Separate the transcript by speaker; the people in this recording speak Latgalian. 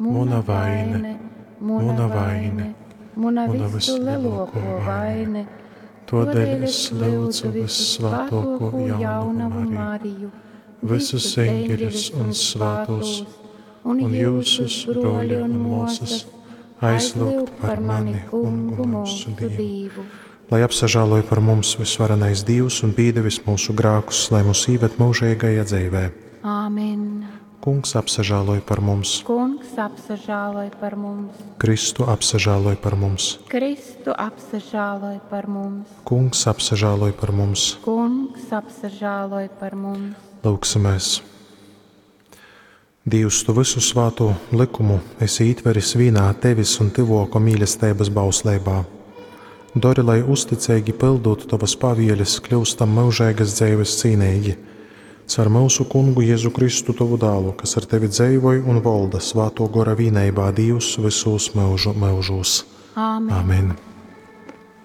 Speaker 1: Muna vaine, muna vaine,
Speaker 2: muna
Speaker 1: muna
Speaker 2: visulielāko
Speaker 1: vyslielōkō
Speaker 2: vaine.
Speaker 1: Tōdēļ es lyudzu vyssvātōkū jaunavu Mariju, visus eņģeļus un svātōs, un jyusus, brōļi un mōsas, aizlyugt par mani Kungu myusu Dīvu. Lai apsažāloj par mums vysvarenais Dīvs un pīdevis myusu grākus, lai mūs īved myužeigajā dzeivē.
Speaker 2: Āmen.
Speaker 1: Kungs apsažāloj par mums,
Speaker 2: Kungs apsažāloj par mums.
Speaker 1: Kristu apsažāloj par mums,
Speaker 2: Kristu apsažāloj par mums.
Speaker 1: Kungs apsažāloj par mums.
Speaker 2: Kungs apsažāloj par mums.
Speaker 1: Lūgsimies! Dīvs, tu visu svātū likumu esi ītveris vīnā tevis un tyvōko mīlesteibas bausleibā. Dori, lai uzticeigi pildūt tovas pavieles, kļūstam myužeigas dzeives cīneigi. Caur myusu Kungu Jēzu Kristu, tovu dālu, kas ar tevi dzeivoj un volda svātō gora vīneibā Dīvs vysūs myužu myužūs.
Speaker 2: Āmen.
Speaker 1: Amen.